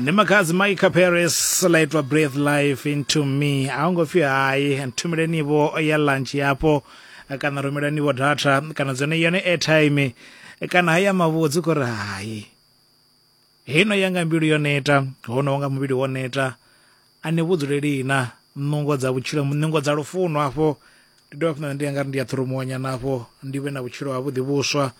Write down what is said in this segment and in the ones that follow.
Ndi makhadzi Micah Paris ḽa itwa Breathe Life Into Me. A hu ngo pfi hai, nthumeleni-vho ya lunch yafho kana rumelani-vho data kana dzone yone airtime kana haya mavhudzi khou ri hai. Heino yanga mbilu yo neta, hono nga muvhili wo neta. A ni vhudzuleli na nungo dza vhutshilo, nungo dza lufuno afho. Ndi dovha hafhu ndi nga ri ndi a ṱhurumuwa nyana afho ndi vhe na vhutshilo havhuḓi vhuswa.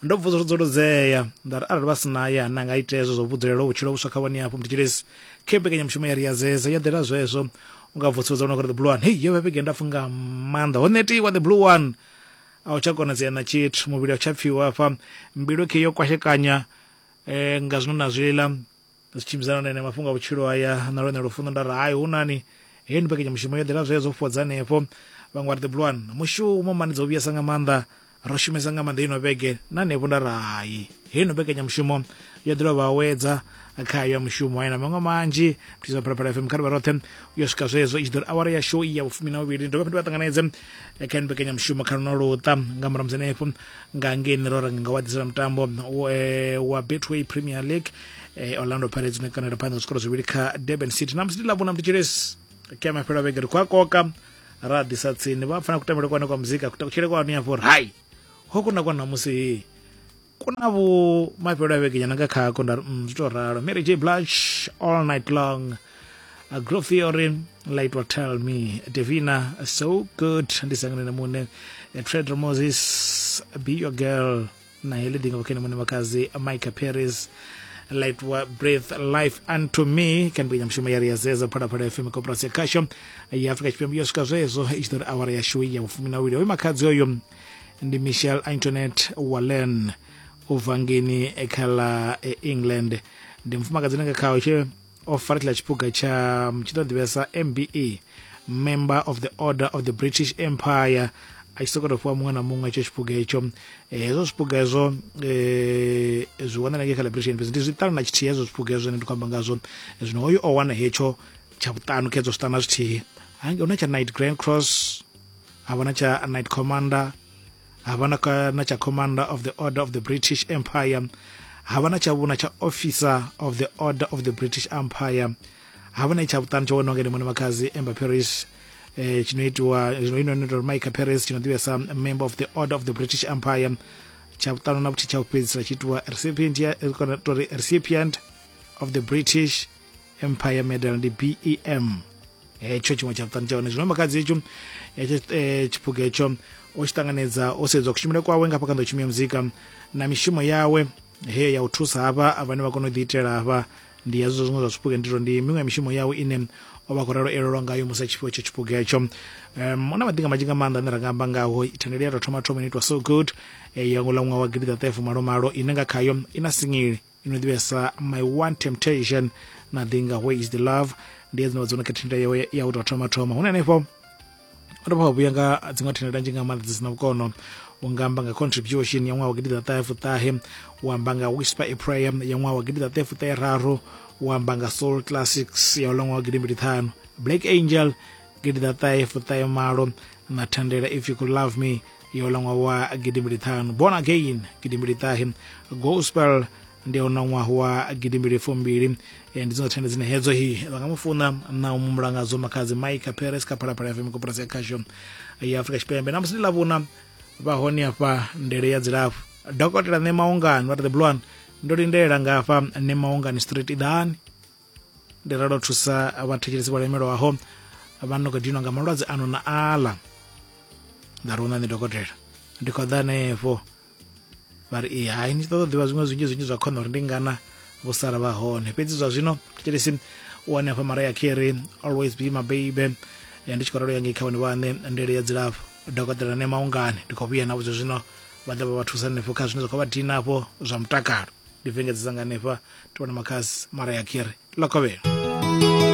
Ndo vusudzuludzea nda ri arali vha si na ya na nga ita hezwo zwo vhudzulela vhutshilo vhuswa kha vhone afho mthetshelesi. Khe mbekanyamushumo ya ri ya zeza ya ḓela zwezwo u nga vusuludza una the blue one. Hei yo vha vhege ndapfu nga maanḓa ho netiwa the blue one. A u tsha konadzea na tshithu muvhili a u tsha pfiwa hafha mbilu khe yo kwashekanya nga zwino na zwiḽa. Zwi tshimbidzana na ene mafhungo a vhutshilo haya na lwone lufuno nda ri hai hu nani heyi ndi mbekanyamushumo yo ḓela zwezwo fhodza hanefho. Vhaṅwe vha ri the blue one mushumo mani dzo vhuyesa nga maanḓa ro shumesa nga maanḓa ino vhege na hanefho nda ri hai heyi no mbekanyamushumo yo ḓela vha awedza kha ya mushumo haya na maṅwe manzhi mthisa Phalaphala FM kha ri vha roṱhe u yo swika zwezwo i tshi ḓo ri awara ya show ya vhufumi na vhuvhili ndi dovha ndi vha ṱanganedze kha ino mbekanyamushumo kha luno luṱa nga murahu musi hanefho nga ngeini ro ranga nga wa ḓisela mutambo wa Betway Premier League. Orlando Pirates ne kanela phanḓa zwikoro zwivhili kha Durban City na musi ndi ḽavhuna mthetshelesi kha mafhelo a vhege ri khou a koka ra ḓisa tsini vha pfana kutambele kwane kwa muzika kutshele kwanu ya uri hai ho kuna kwa namusi kuna vhu mafhelo a vhege nyana nga khako nda ri zwi to ralo. Mary J Blige All Night Long, A Groove Theory Light Will Tell Me, Davina So Good ndi sangane na mune Trader Moses Be Your Girl na heḽi ḓinga vhukhene mune makazi Micah Paris Light wa Breathe Life Unto Me kha mbekanyamushumo ya ri ya zeza Phalaphala FM koporasi ya khasho ya Afrika Tshipembe yo swika zwezwo i tshi ḓo ri awara yashu ya vhufumi na vhuvhili. Hoyu makhadzi oyo ndi Michelle Antoinette Wallen u bva ngeni kha ḽa England. Ndi mufumakadzi ane nga khaho tshe o fara tshiḽa tshiphuga tsha tshi ḓo ḓivhesa MBE, Member of the Order of the British Empire, a tshi sokou tou fhiwa muṅwe na muṅwe hetsho tshiphuga hetsho. Hezwo zwiphuga hezwo zwi wanala ngei kha ḽa British fhedzi ndi zwiṱanu na tshithihi hezwo zwiphuga hezwo zwine ndi khou amba ngazwo. Zwino hoyu o wana hetsho tsha vhuṱanu kha hezwo zwiṱanu na zwithihi. Hangei hu na tsha Knight Grand Cross, ha vha na tsha Knight Commander, ha vha na tsha Commander of the Order of the British Empire, ha vha na tsha vhuna tsha Officer of the Order of the British Empire, ha vha na tsha vhuṱanu tsho waniwa ngene muṋe makhadzi Amber Paris tshino itiwa zwino ino ino Micah Paris tshino ḓivhea sa Member of the Order of the British Empire. Tsha vhuṱanu na vhuthihi tsha u fhedzisela tshi itiwa recipient ya kana tori recipient of the British Empire Medal ndi BEM. Hetsho tshiṅwe tsha vhuṱanu tsha hone zwino makhadzi hetsho hetsho tshiphuga hetsho o tshi ṱanganedza o sedzwa kushumele kwawe nga hafha kha nḓowetshumo ya muzika na mishumo yawe he ya u thusa hafha vhane vha kona u ḓiitela hafha. Ndi hezwo zwiṅwe zwa zwiphuga ndi ndi miṅwe ya mishumo yawe ine o vha khou ralo elelwa ngayo musi a tshi fhiwa itsho tshiphuga hetsho. Hu na maḓinga manzhi nga maanḓa ane ra nga amba ngaho. Thandela ya tou thoma thoma ino itwa So Good ya ngo ḽa ṅwaha wa gidiḓaṱahe fumalomalo ine nga khayo i na singili ino ḓivhea sa My One Temptation na ḓinga Where Is The Love. Ndi hedzino vha dzone kha thandela yawe ya u tou thoma thoma. Hune hanefho o dovha wa vhuya nga dziṅwe thandela nnzhi nga maanḓa dzi sina vhukono. U nga amba nga Contribution ya ṅwaha wa gidiḓaṱahe fuṱahe, u amba nga Whisper a Prayer ya ṅwaha wa gidiḓaṱahe fuṱahe raru, u amba nga Soul Classics ya uḽa ṅwaha wa gidimbili ṱhanu, Black Angel gidiḓaṱahe fuṱahe malo na thandela If You Could Love Me ya uḽa ṅwaha wa gidimbili ṱhanu, Born Again gidimbili ṱahe, Gospel ndi ya uḽa ṅwaha wa gidimbili fumbili. Ndi dziṅwe thandela dzine hedzo hi vha nga mu funa na u mumbula ngadzo makhadzi Micah Paris kha Phalaphala FM koporasi ya khasho ya Afrika Tshipembe. Na musi ndi ḽavhuna vha hone hafha ndele ya dzilafho dokotela nṋe Maungani vha ri the blue one ndo lindela nga hafha nṋe Maungani street iḓani ndi ralo thusa vhathetshelesi vho lemelwaho vha no khou dinwa nga malwadze ano na aḽa. Nda ri huna nṋe dokotela ndi khou ḓa hanefho. Vha ri ee hai ni tshi ṱoḓa u ḓivha zwiṅwe zwinzhi zwinzhi zwa khona uri ndi ngana vho sala vha hone. Fhedzi zwa zwino thetshelesi u wane hafha Mariah Carey Always Be My Baby. Ndi tshi khou ralo ya ngei kha vhone vhaṋe ndele ya dzilafho dokotela nṋe Maungani ndi khou vhuya navho zwa zwino vha ḓo vha vha thusa hanefho kha zwine zwa khou vha dina hafho zwa mutakalo. Ndi vengedzesa nga hanefha ndi vhona makhadzi Mariah Carey ḽa kovhela.